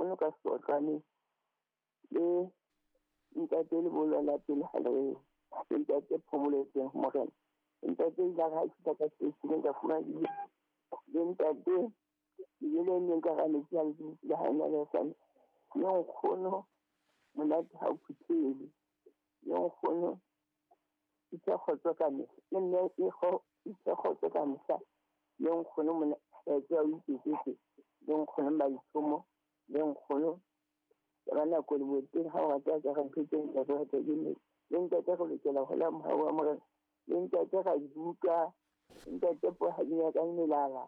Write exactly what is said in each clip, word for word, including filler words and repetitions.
Nkgono ka Seotlwaneng le ntate le bolwana pele ha le le ntate Phomoletseng Morena. Ntate ile ha fihla ka seteisheneng ka fumana dijo. Le ntate dijo le neng ka hara metsi a le ha ena le sane. Le nkgono monate ha o phuthele. Le nkgono itse kgotso ka mehla. Le mme e kgo itse kgotso ka mehla. Le nkgono mona tsa o iketsetse. Le nkgono Maithomo. Le nkgono ka nako le boteng ha o rata ka re ntho tse ntle re rata ke mme. Le ntate re lokela ho la mohau wa Morena. Le ntate ra dibuka. Ntate Pohadinya ka melala.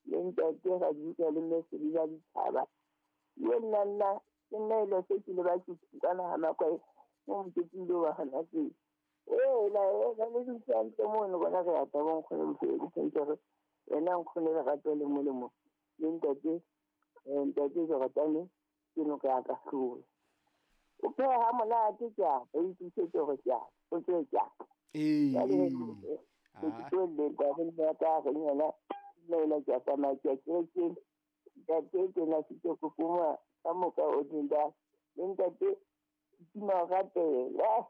Le ntate ra dibuka le mme Sebila Ditshaba. Le nna nna ke nna e le se ke le ba ke kana ha makwae mo moketeng lo wa hona tse. Eh la la le dutse hantle mono bona re rata bo nkgono bophelo ke ntse re yena nkgono lerato le molemo. Le ntate eh ntate Jordan ke noka ya ka hlola. O pheha ha monate ke a o itse hore ke a o tswe ke a. Ee. Ke tlo le ka re nna ka re yena le la ke tsamaya ke ke ntate ke na se ke kokoma ka moka o dinda le ntate ke ma ratela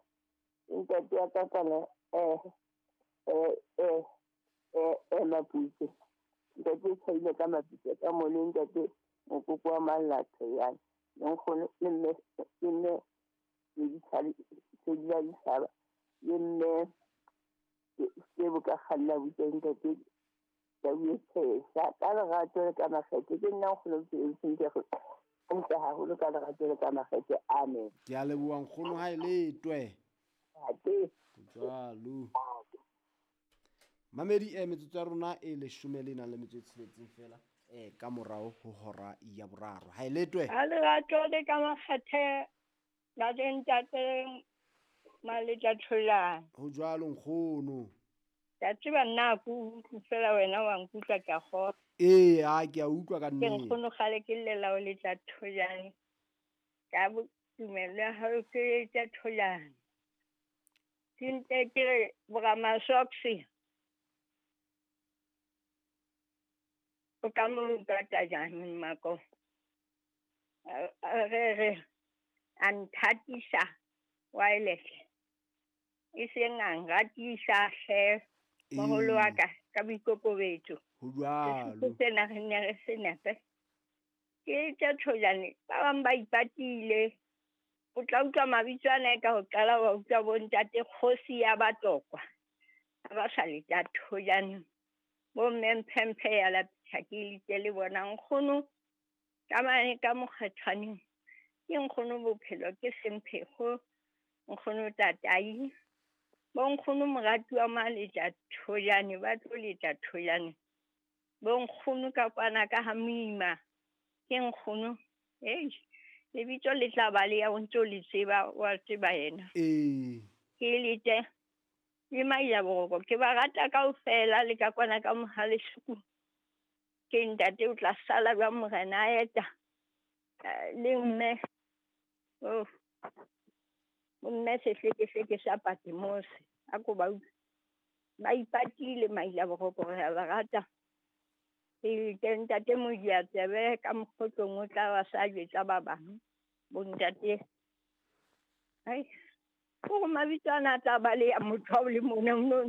ntate ya ka kana eh eh eh eh eh maputse ntate tshwaile ka maputse ka mo le ntate mokoko wa Malatho yana le nkgono le mme le mme le ditshaba tse di la ditshaba le mme ke bo ka kganna butse ntate ka buetsa ka lerato le ka makgethe ke nna nkgono ke sentle go ntle haholo ka lerato le ka makgethe. Amen. Ke a leboha nkgono ha e letwe. Ate. Jwalo. Mamedi e metsotso ya rona e leshome le nang le metso e tsheletseng fela eh ka morao ho hora ya boraro. Ha e letwe. Ha lerato le ka makgethe la ntate Maletla Tholane. Ho jwalo nkgono. Ke a tseba nna ke utlwe fela wena wa nkutlwa ke a kgolwa. Ee, a ke a utlwa ka Ke nnete. nkgono kgale ke llela o letla Tholane. Ka tumelo ya hao ke letla Tholane. Ke nte ke re boramasoksi. O ka mo nkata jang mmako? Re re a nthatisa wireless. E seng a nratisa hle moholo wa ka ka boikokobetso. Ho jwalo. Sesotho sena re ne re se nepe. Ke tsa Tholane ba bang ba ipatile. O tla utlwa mabitso ana ka ho qala wa utlwa bo ntate Kgosi ya Batlokwa. Ha ba sa le tsa Tholane. Bo mme Mphemphe ya lapisa ke litse le bona nkgono ka mane ka mokgethwaneng. Ke nkgono bophelo ke semphego nkgono tatai. Bo nkgono morati wa Maletla Tholane ba tlo letla Tholane. Bo nkgono ka kwana ka ha moima ke nkgono. Ei lebitso le tla ba le ya o ntso le tseba wa tseba yena. Ee. Ke lete le Maila Boroko ke ba rata kaofela le ka kwana ka Mohalesuku. Ke ntate o tla sala jwang morena a eta le mme. Oh. Mme sehlekehleke sa Patmos a ko ba utlwe. Ba ipatile Maila Boroko re a ba rata. Ke ke ntate Modiatsebe ka mokgotlong o tla ba sa jwetsa ba bang. Bo ntate. Ai. Ko mabitso ana a tla ba le ya motho o le mona no